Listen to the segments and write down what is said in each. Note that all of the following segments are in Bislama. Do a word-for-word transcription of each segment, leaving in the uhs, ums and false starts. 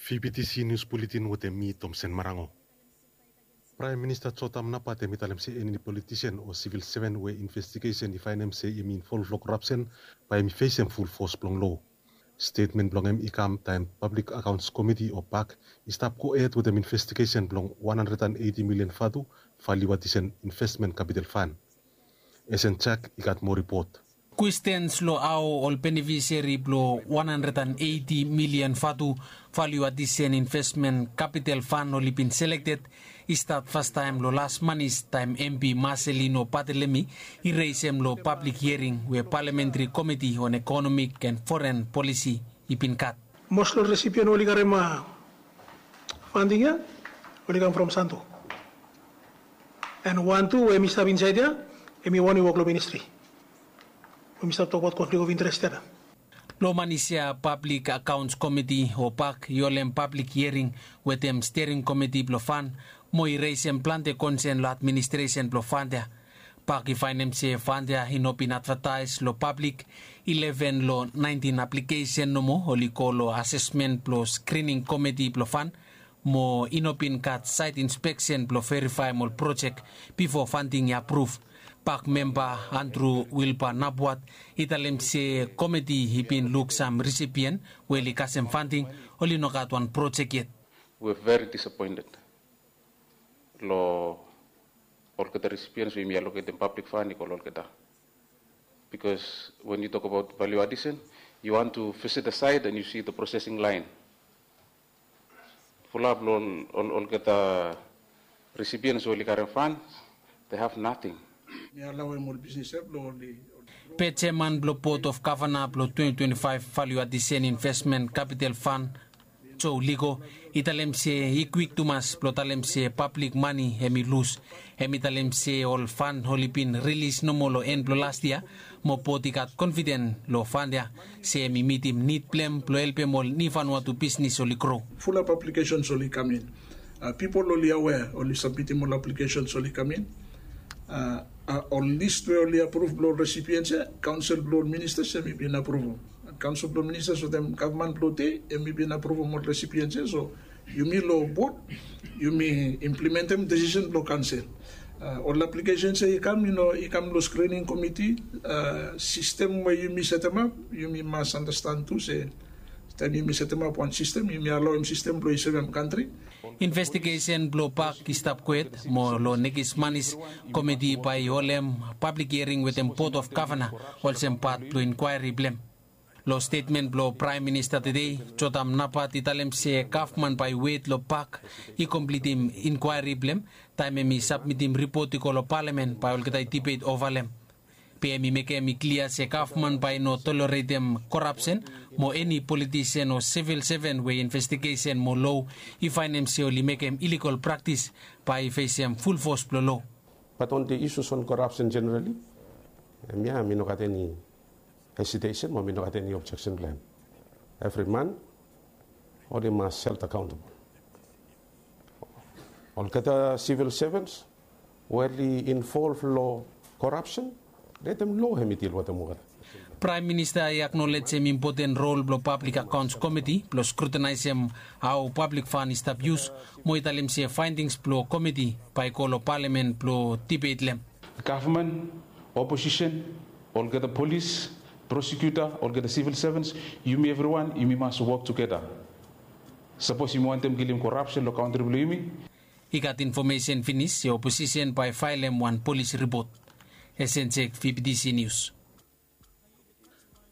Fibitisi nius buletin wetem mi Tomsen Marango. Praem Minista Jotam Napat hem i talem se eni politisen o sivil seven we investigesen i faenem se hem i involv long korapsen bae hem i fesem fulfos blong lo. Stetmen blong hem i kam taem Pablik Akaons Komiti o pak i stap gohed wetem investigesen blong wan handred an eiti milian vatu valiuatisen investmen kapital fan. Esen Jak i gat moa ripot. Kwestens long hao ol benefiseri blong wan handred an eiti milian vatu valiuatisen investmen kapital fan oli bin selekted i stat fastaem long las manis taem MP Marcelino Bartolome i resem long pablik hiering we Palamentri Komiti on Ekonomik en Foren Polisi i bin gat. Mos long resipien oli karem fanding ya oli kam from Santo. En wan tu we mi stap insaed ya em i wan i wok long ministri. We mi stap tokbaot konflik of interes ya. Long manis ya Pablik Akaons Komiti o pak i holem pablik hiering wetem stering komiti blong fan mo i resem plante konsen long administresen blong fand ya. Pak i faenem se fand ya i no bin advataes long pablik. Ileven long naentin aplikesen nomo oli go long asesmen blong skrining komiti blong fan mo i no bin gat saet inspeksen blong verifaem ol projek bifo fanding i apruv. Pak memba Andru Wilba Nabuat i talem se komiti i bin luk sam risipien we oli kasem fanding oli no gat wan projek yet. We're very disappointed long olgeta recipients we yumi allocatem public fund i go long olgeta. Because when you talk about value addition, you want to visit the site and you see the processing line. Fulap long ol olgeta recipients we oli karem fund, they have nothing. Mi allow em ol business ya blong oli. Pe jeman blong Board of Governor blong twenty twenty-five Value Addition Investment Capital Fund, Joe Ligo, i talem se i kwik tumas blong talem se pablik mane hem i lus. Hem i talem se ol fund oli bin rilis nomo long en blong las yia, mo Board i gat confident long fund ya se hem i mitim nid blong hem blong helpem ol New Vanuatu bisnis oli gro. Fulap applications oli kam in. Pipol oli aware, oli submitim ol applications oli kam in. Ol list we oli apruv blong ol recipients ya, kaonsel blong ol ministers hem i bin apruvum. Kaonsel blong ol ministers wetem gavman blong tede hem i bin apruvum ol recipients ya. So yumi long Board yumi implementem desisen blong kaonsel. Ol aplikesensi ya i kam, i kam long skrining komiti. Sistem we yumi setemap, yumi mas anastan tu se taem yumi setemap wan sistem, yumi alaoem sistem blong i sevem kantri. Investigesen blong Pak i stap kwet mo long nekis manis komiti bae i holem pablik hiering wetem Board of Governor olsem pat blong inkwaeri blong hem. Long stetmen blong Praem Minista tede, Jotam Napat i talem se gavman bae i wet long Pak i komplitim inkwaeri blong hem. Taem hem i sabmitim ripot i go long palamen bae olgeta i dibet ova long hem. Be hem i mekem i klia se gavman bae i no toleretem korapsen mo eni politisen o sivil seven we investigesen mo lo i faenem se oli mekem iligol praktis bae i fesem fulfos blong lo. Bat on the issues on corruption generally, hemia mi no gat eni hesitation mo mi no gat eni objeksen blong hem. Evri man oli mas held accountable. Olgeta sivil sevens we oli involv long korapsen, letem lo hem i dil wetem olgeta. Praem Minista i aknolejem impoten rol blong Pablik Akaons Komiti blong skrutinaesem hao pablik fan i stap yus mo i talem se faendings blong komiti bae i go long palamen blong dibet long hem. Gavman, oposisen, olgeta polis, prosekuta, olgeta sivil sevens, yumi evriwan yumi mas wok tugeta. Sapos yumi wantem kilim korapsen long kantri blong yumi. I gat infomesen finis se oposisen bae i faelem wan polis ripot. Esen Jek, V B T C News.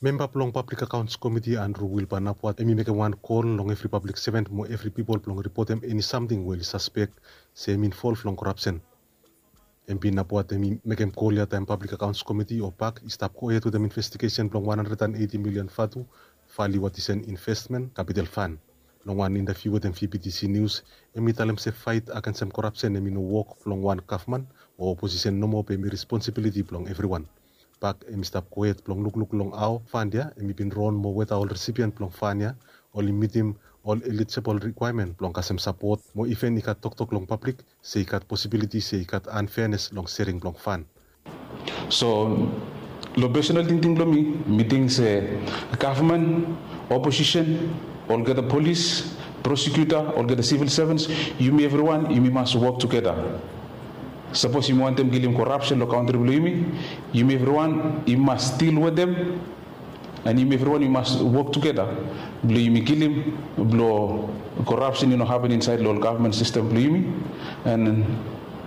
Memba blong Pablik Akaons Komiti Andru Wilba Napat hem i mekem wan kol long evri pablik seven mo evri pipol blong ripotem eni samting we oli saspek se hem i involv long korapsen. Hem bin Napat hem i mekem kol ya taem Pablik Akaons Komiti o Pak i stap gohed wetem investigesen blong wan handred an eiti milian vatu valiu atisen investmen kapital fan. Long wan intaviu wetem V B T C News, hem i talem se faet agensem korapsen hem i no wok blong wan gavman o oposisen nomo be hem i responsibiliti blong evriwan. Pak hem i stap gohed blong lukluk long hao fan ya hem i bin ron mo weta ol resipien blong fan ya oli mitim ol elijibol rikwaemen blong kasem sapot mo iven i gat toktok long pablik se i gat posibiliti se i gat anfeanes long sering blong fan. So long pesonal tingting blong mi, mi ting se gavman, oposisen, olgeta polis, Prosecutor, olgeta civil servants, yumi evriwan yumi mas wok tugeta. Sapos yumi wantem kilim korapsen long kantri blong yumi, yumi evriwan yumi mas dil wetem. And yumi evriwan yumi mas wok tugeta blong yumi kilim blong korapsen i no hapen insaed long ol gavman sistem blong yumi. And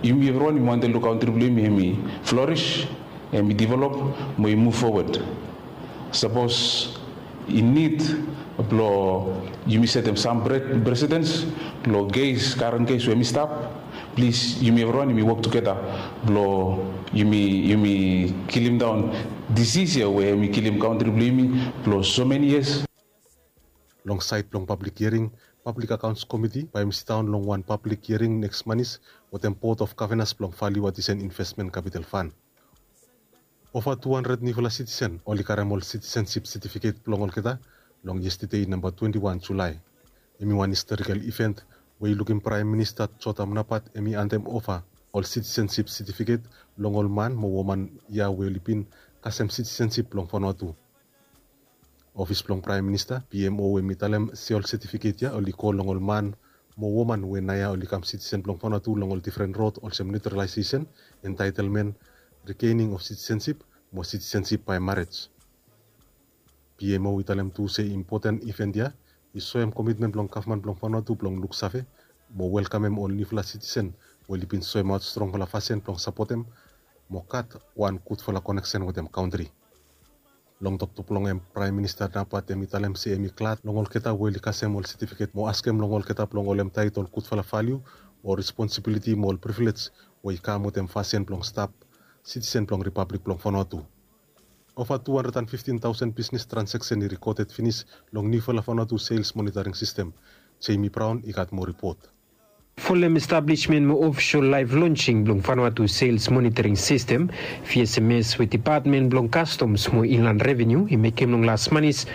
yumi evriwan yumi wantem long kantri blong yumi hemi flourish, hemi develop, mo i muv fowod. Sapos i nid blong yumi setem sam presedens long kes, karen kes we hemi stap, plis yumi evriwan yumi wok tugeta blong yumi kilim daon disis ya we hemi kilim kantri blong yumi blong so meni yias. Long saed blong pablik hiaring, Pablik Akaons Komiti bae hemi sidaon long wan pablik hiaring neks manis wetem Bot of Gavanas blong Value Addition Investment Capital Fund. Ova tu handred niufala sitisen oli karem ol sitisensip setifiket blong olgeta long yestade namba twenti wan Julae. Hemi wan istorikel iven we i lukim Praem Minista Jotham Napat hemi antem ova ol sitisensip setifiket long ol man mo woman ya we oli bin kasem sitisensip blong Vanuatu. Ofis blong Praem Minista, P M O, hemi talem se ol setifiket ya oli go long ol man mo woman we naoia oli kam sitisen blong Vanuatu long ol difren rod olsem naturalaesesen, entaetelmen, rigening of sitisensip mo sitisensip bae marej. P M O i talem tu se impoten iven ya i soem komitmen blong gavman blong Vanuatu blong luksave mo welkamem ol niufala sitisen we oli bin soemaot strongfala fasin blong sapotem mo gat wan gudfala koneksen wetem kantri. Long toktok blong hem, Praem Minista Napat hemi talem se hemi glad long olgeta we oli kasem ol setifiket mo askem long olgeta blong holem taet ol gudfala valiu o responsibiliti mo ol privilej we i kam wetem fasin blong stap sitisen blong Ripablik blong Vanuatu. Ova tu handred an fiftin taosen bisnes transeksen i rikoded finis long niufala Vanuatu sels monitaring sistem. Jamie Brown i gat moa ripot. Folem establishment mo ofisol laef lonsing blong Vanuatu sels monitaring sistem, V S M S, we depatmen blong Kastoms mo Inland Revenu i mekem long las manis,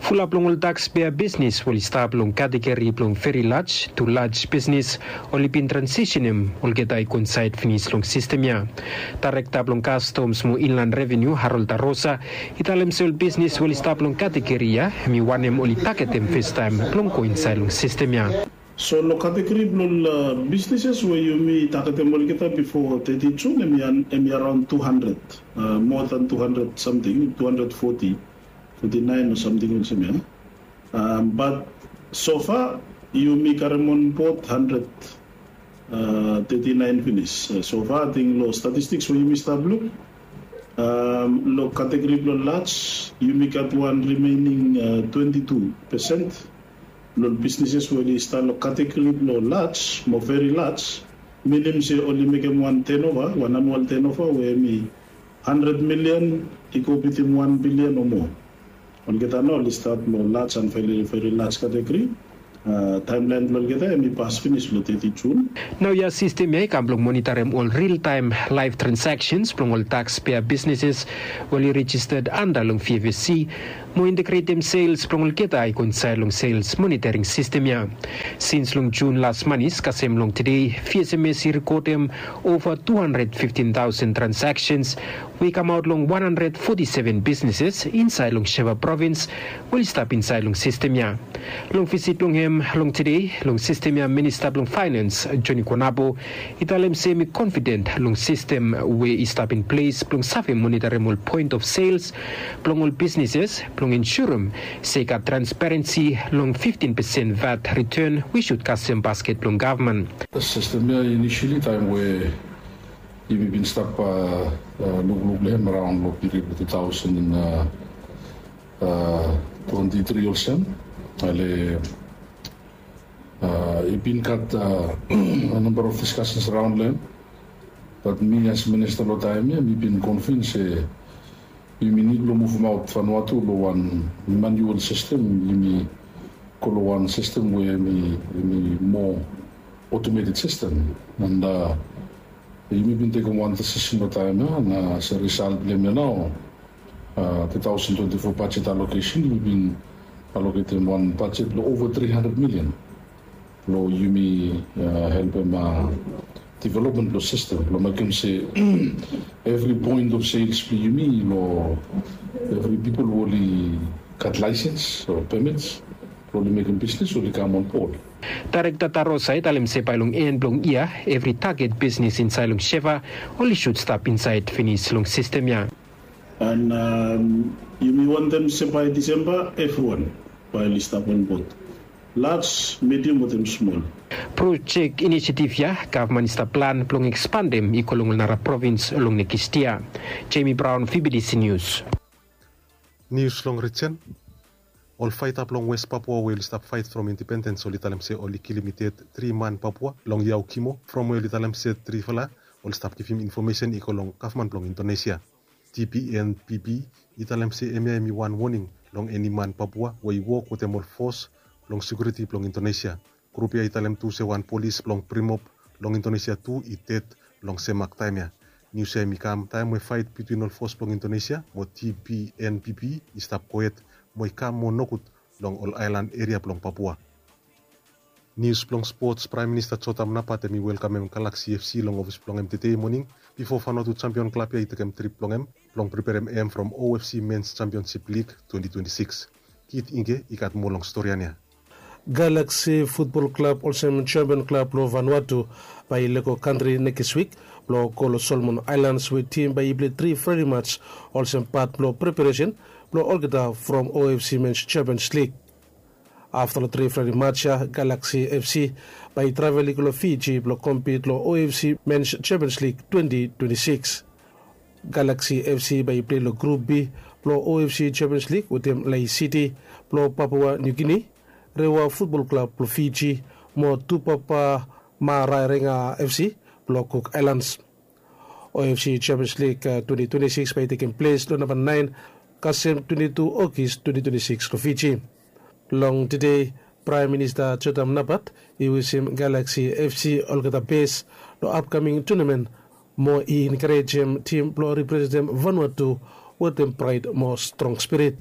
fulap long ol takspea bisnes we oli stap long kategori blong veri laj tu laj bisnes oli bin transisenem olgeta i go insaed finis long sistem ya. Daerekta blong Kastoms mo Inland Revenu, Harold Arosa, i talem se ol bisnes we oli stap long kategori ya hemi wanem oli tagetem festaem blong go insaed long sistem ya. So long kategori blong ol bisneses we yumi tagetem olgeta bifo teti Jun hemi araon tu handred, moa dan tu handred samting, tu handred foti, foti naen o samting olsem ya. Bat sofa yumi karem onbod handred teti naen finis. Sofa ating long statistiks we yumi stap luk, long kategori blong laj yumi gat wan rimening twenti tu pesen blong ol bisneses we oli stap long kategori blong laj mo veri laj, minim se oli mekem wan tenova, wan anual tenova we hemi handred milian i go bitim wan bilian o moa. Olgeta nao oli stap long laj an veri, veri laj kategori. Taemlaen blong olgeta hemi pas finis long teti Jun. Naoia sistem ya i kam blong monitarem ol riltaem laef transaksens blong ol takspea bisneses we oli rejisted anda long V F S C mo integretem sels blong olgeta i go insaed long sels monitaring sistem ya. Sins long Jun las manis kasem long tede, V S M S i rikodem ova tu handred fiftin taosen transaksens we i kamaot long wan handred foti seven bisneses insaed long Sheva provins we oli stap insaed long sistem ya. Long visit blong hem long tede long sistem ya, Minista blong Faenans, Johnny Konabo, i talem se hemi konfiden long sistem we i stap in ples blong save monitarem ol poen of sels blong ol bisneses blong ensurem se i gat transparensi long fiftin pesen vat riten we i sud kasem basket blong gavman. Sistem ya inisili taem we yumi bin stap lukluk long hem araon long piriod blong tu taosen twenti tri olsem, ale i bin gat a namba of diskasens araon long hem. Bat mi as minista long taem ya mi bin konvins se yumi nid blong muvumaot Vanuatu long wan manual sistem, yumi go long wan sistem we hemi moa otometed sistem. And yumi bin tekem wan disisen long taem ya, na as a risalt blong hem ya nao, tu taosen twenti fo bajet alokesen yumi bin aloketem wan bajet blong ova tri handred milian blong yumi helpem developmen blong sistem blong mekem se evri poen of sels blong yumi long evri pipol we oli gat laesens o pemits Oli mekem bisnis oli kam on bod. Daerekta Tarosa i talem se bae long en blong yia evri taget bisnis insaed long Sheva oli sud stap insaed finis long sistem ya. An yumi wantem se bae Disemba evriwan bae oli stap on bod, laj, medium wetem smol. Projek inisiativ ya gavman i stap plan blong ekspandem i go long ol nara provins long nekis yia. Jemi Braon, V B D C Nius. Nius long rijen. Ol faeta blong West Papua we oli stap faet from indipendens oli talem se oli kilim i ded tri man Papua long Yaukimo from we oli talem se trifala oli stap givim infomesen i go long gavman blong Indonesia. T P N P P i talem se hemia hemi wan woning long eni man Papua we i wok wetem ol fos blong sekiuriti blong Indonesia. Grup ya i talem tu se wan polis blong Brimob long Indonesia tu i ded long sem mak taem ya. Nius ya hemi kam taem we faet bitwin ol fos blong Indonesia mo T P N P P i stap gohed mo i kam mo nogud long ol aelan eria blong Papua. Nius blong spots. Praem Minista Jotam Napat hemi welkamem Galaksi F C long ofis blong hem tede moning bifo Vanuatu jampion klab ya i tekem trip blong hem blong preperem hem from O F C Mens Jampionsip Lig twenti twenti sikis. Kit Ingge i gat moa long storian ya. Galaksi futbol klab olsem jampion klab blong Vanuatu bae i lego kantri nekis wik blong go long Solomon Aelans we tim bae i pilei tri frendli maj olsem pat blong preperesen blong olgeta from O F C Mens Jampions Lig. Afta long tri frendli maj ya Galaksi F C bae i travel i go long Fiji blong kompit long O F C Mens Jampions Lig twenti twenti sikis. Galaksi F C bae i pilei long Grup B blong O F C Jampions Lig wetem Lae Siti blong Papua Niu Gini, Rewa futbol klab blong Fiji mo Tupapa Maraerenga F C blong Kuk Aelans. O F C Jampions Lig twenti twenti sikis bae i tekem ples long namba naen kasem twenti tu Ogis twenti twenti sikis long Fiji. Long tede Praem Minista Jotam Napat i wisim Galaksi F C olgeta bes long apkaming tunamen mo i enkarejem tim blong representem Vanuatu wetem praed mo strong spirit.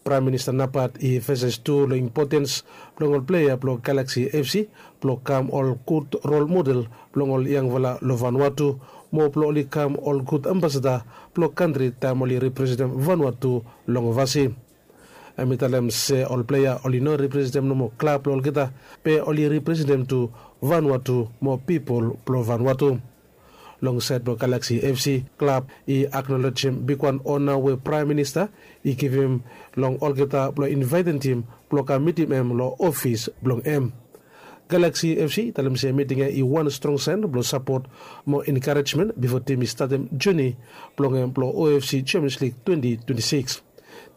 Praem Minista Napat i emfasais tu long impotens blong ol plea blong Galaksi F C blong kam ol gud rol model blong ol yangfala long Vanuatu mo blong oli kam ol gud ambasada blong kantri taem oli representem Vanuatu long ovasi. Hem i talem se ol plea oli no representem nomo klab blong olgeta be oli representem tu Vanuatu mo pipol blong Vanuatu. Long saed blong Galaksi F C, klab i aknolejem bigwan ona we Praem Minista i givim long olgeta blong invaetem tim blong kam mitim hem long ofis blong hem. Galaksi F C i talem se miting ya i wan strong saen blong sapot mo enkarejmen bifo tim i statem joni blong hem blong O F C Jampions Lig twenti twenti sikis.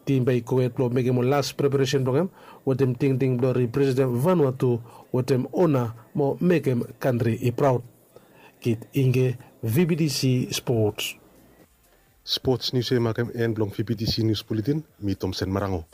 Tim bae i gohed blong mekem ol las preparesen blong hem wetem tingting blong representem Vanuatu wetem ona mo mekem kantri i praod. Kit Ingge, V B D C Sports. Sports nius ya i makem en blong V B D C Nius Buletin. Mi Tomsen Marango.